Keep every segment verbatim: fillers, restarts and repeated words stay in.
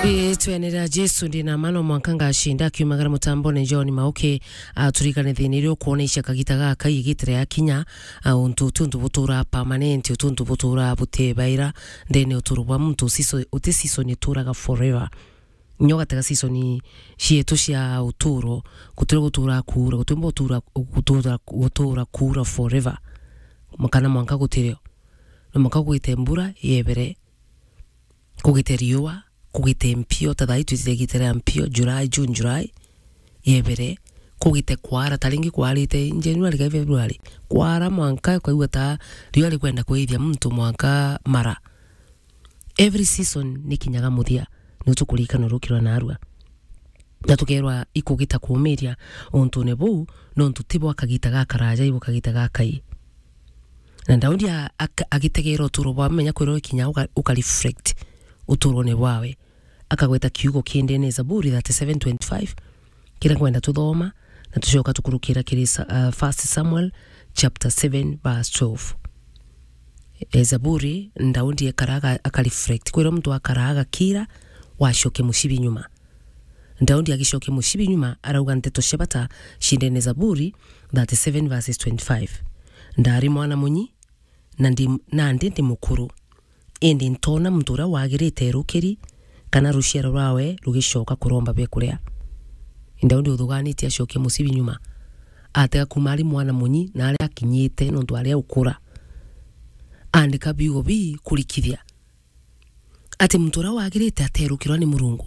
Ritwene ria Jesu, ndi na mano mwanka ngacinda. Akiumagara mutambone John Mauki, aturikane thina iria ukwona icia kagita gaka igitire yakinya, a, untu uti untu butura permanent, uti untu butura butebaira ndene uturo bwa muntu. Siso, uti season ituraga forever. Nyo gatega season cietu cia uturo, gutire gutura kuura, gutire gutura, gutura, gutura kuura forever. Kana mwanka gutirio. Ni mwanka kugite mbura yebere, kugite riua, kugite mpio, ta thaa ii twitire gitire mpio, July, June, July, yebere, kugite kwara, ta ringi kwarite January kai February, kwara mwanka ukaigua ta riua rikwenda kuithia muntu mwanka mara. Every season ni kinyaga muthia, ni tukurikana rukirwa narua. Na tukerwa ikugita kuumiria untune buu, nontu ti bwa kagita gakaraja, i bwa kagita gakai. Na Daudi a-, ak-, agitegeera uturo bwa menya kwirwa ikinya uka-, uka reflect uturone bwawe. Akagweta kiugo kiendene Zaburi thirty-seven twenty-five, kiria ngwenda tuthoma, na tucoka tukurukira kiri Sa-, uh, First Samuel chapter seven verse twelve. E, Zaburi, Daudi ekara aga-, aka reflect. Kwirwa muntu akara agakira, wacokia mucibi nyuma. Daudi agicokia mucibi nyuma, arauga nteto cia bata ciendene Zaburi thirty-seven verses twenty-five. Ndari mwana munyi, na ndi, nandi ndi mukuru. Indi ntoona muntu uria wagirite erukiri, kana ruciaro rwawe rugicoka kuromba biakuria. Daudi uthuganitie acokie mucibi nyuma. Atega kuuma ari mwana munyi na aria akinyite nontu aria ukura. Andika biugo bii kurikithia ati muntu uria wagirite aterukirwa ni Murungu.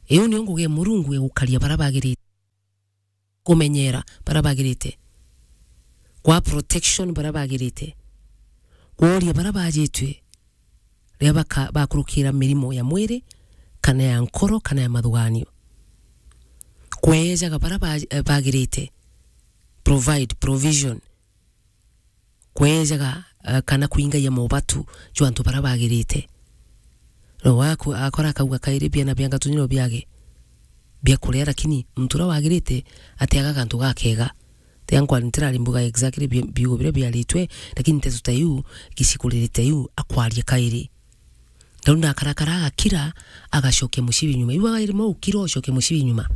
Iu niyo ngugi ya Murungu ya gukaria baria bagirite. Kumenyera baria bagirite, kwa protection baria bagirite, kworia baria bajitue riria baka-, bakurukira mirimo ya mwiri, kana ya nkoro, kana ya mathuganio, kwejaga baria ba-, eh, bagirite, provide provision, kwejaga, eh, kana kwingaia mobatu jwa antu baria bagirite. No waku akora akauga kairi biana bia ngatu nino biage bia kuria, lakini muntu uria wagirite atiaga gantu gakega. Tia nkwa ntirari mbuga exactly bi-, biugo biria biaritwe, lakini nteto ta iu, gicikuririte iu, akwaria kairi. Riu ndakarakara agakira, agacokia mucibi nyuma. Iu agairima ukira ucokia mucibi nyuma.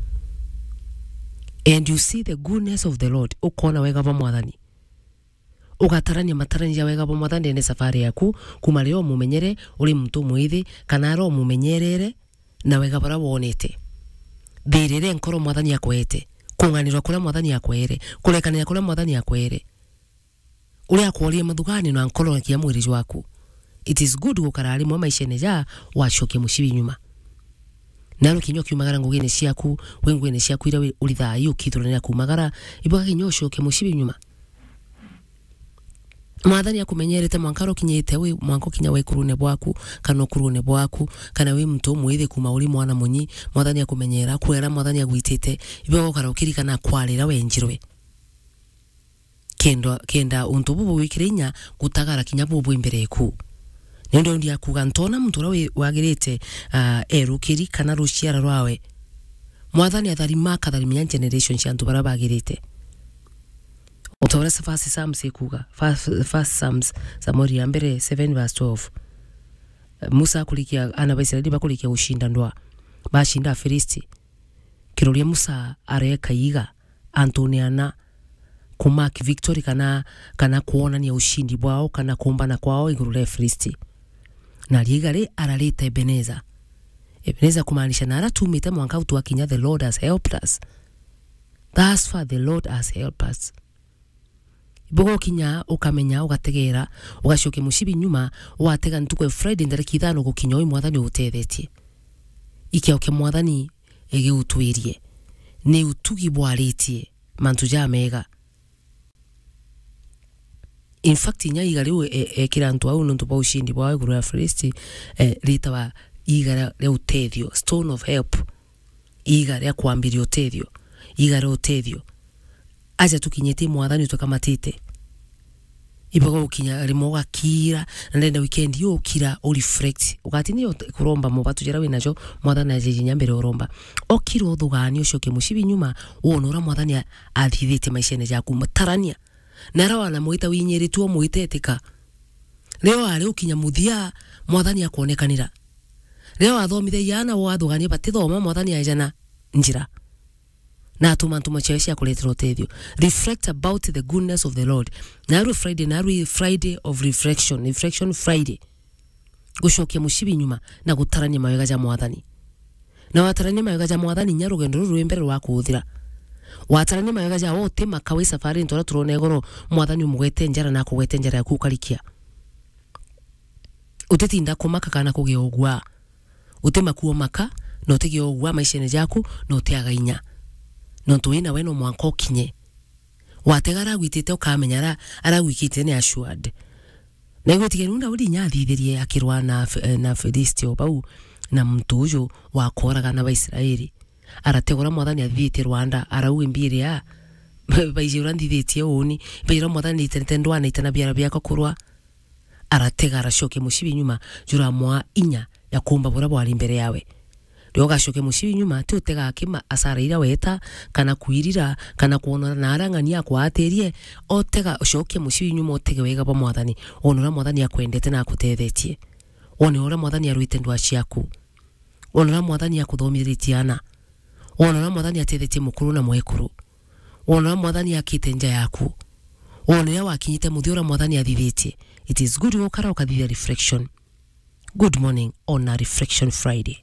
And you see the goodness of the Lord, ukona wega bwa Mwathani. Ugatarania matarania ja wega bwa Mwathani ndene safari yaku, kuma riria umumenyere uri muntu mwithi, kana aria umumenyerere na wega baria wonete. Thirire nkoro Mwathani akwete, kung'anirwa kuria Mwathani akwere, kurekanira kuria Mwathani akwere. Uria akworie mathugani na nkoro na kia mwiri jwaku. It is good gukara rimwe maishene ja wacokia mucibi nyuma. Naro kinya ukiumagara ngugine ciaku, wi ngugine ciaku iria wi-, urithaa ii ukithuranira kuumagara, ibuga kinya ucokie mucibi nyuma. Mwathani akumenyerete mwanka uria ukinyite, wi mwanka ukinya wikurune bwaku, kana ukurune bwaku, kana wi muntu umwithi kuma uri mwana munyi, Mwathani akumenyera, kwera Mwathani agwitite, ibuga ukara ukirikana kwarira wenjirwe. Kenda, kenda untu bubu gwikira inya gutagara kinya bubu imbere eku. Niundu ndi akuga, ntoona muntu uria wi-, wagirite, ah, erukiri kana ruciara rwawe. Mwathani atharima, akatharimia generation cia antu baria bagirite. Uta uria First Psalms ikuga, First, First Psalms, Samueli ya mbere seven verse twelve. Musa akurikia, ana ba Israeli bakurikia gucinda ndwa, bacinda Afilisti. Kiroria Musa areka iga antune ana, ku mark victory kana, kana kwonania ucindi bwao kana kumbana kwao iguru ria Filisti. Na riiga ri ararita Ebeneza. Ebeneza kumaanisha na ara tumite mwanka u twakinya, the Lord has helped us. Thus far the Lord has helped us. Ibuga ukinya ukamenya, ugategeera, ugacokia mucibi nyuma, watega ntuku ya Friday ndariki ithano gukinya ui Mwathani ugutethetie. Ikio kia Mwathani igiutwirie. Ni utugi bwaritie mantu jamega. In fact, inya iga riu e-, ekira antu au nontu bwa ucindi bwao iguru ya Filisti, eh, ritawa iga ria, ria utethio, stone of help. Iga ria kwambiria utethio, iga ria utethio. Aja tukinyite Mwathani utwikamatite. Ibuga ukinya rimwe ugakira, na ndenda weekend iyo ukira u reflect. Ugatinia ut-, kuromba mobatu jaria winajo, Mwathani ajeje inya mbere uromba. Okira uthugani ucoke mucibi nyuma, wone uria Mwathani a-, athithitie maishene jaku, mutarania. Na aria wanamwita winyiritue umwite etika. Rio ari ukinya muthia, Mwathani akwonekanira. Riria wathomithagia aana, wathugania batithoma, Mwathani aejana njira. Na atuma ntuma ciawe cia kuretera utethio. Reflect about the goodness of the Lord. Narua Friday, narua Friday of reflection, Reflection Friday. Gucokia mucibi nyuma na gutarania mawega ja Mwathani. Na watarania mawega ja Mwathani, nya rugendo ruru rwi mbere rwa kuthira. Watarania mawega ja, utimaka wi safari, ntora turona igoro, Mwathani umugwete njara na akugwete njara yaku ukarikia. Utitinda kumaka kana kugia ugua. Utimaku umaka, na utigia ugua maishene jaku, na utiaga inya. Nontu wina we no mwanka ukinye. Watega aragwitite ukamenya ara-, aragwikite ni assured. Na igwitikia niu Daudi inya athithirie akirwa na F-, eh, na Filisti o bau, na muntu uju wa koraga na Baisraeli. Arategwa uria Mwathani athithitie rwanda, arauga, "Mbiria, baiji uria nthithitie uuni, baiji uria Mwathani itenete ndwana itana biara biakwa kurwa." Aratega, aracokia mucibi nyuma, juramwaa inya ya kuumba buria bwari mbere yawe. Riria ugacokia mucibi nyuma, ti utega akima asara iria weta, kana kwirira, kana kwonora na aria ng'ania akwaatirie, otega, cokia mucibi nyuma, utege wega bwa Mwathani, wone uria Mwathani akwendete na akutethetie. Wone uria Mwathani arwite ndwaa ciaku. Wone uria Mwathani akuthomithiritie aana. Wone uria Mwathani atethetie mukuru na mwekuru. Wone uria Mwathani akite nja yaku. Wone uria wakinyite muthia uria Mwathani athithitie. It is good gukara ukathithia reflection. Good morning on a Reflection Friday.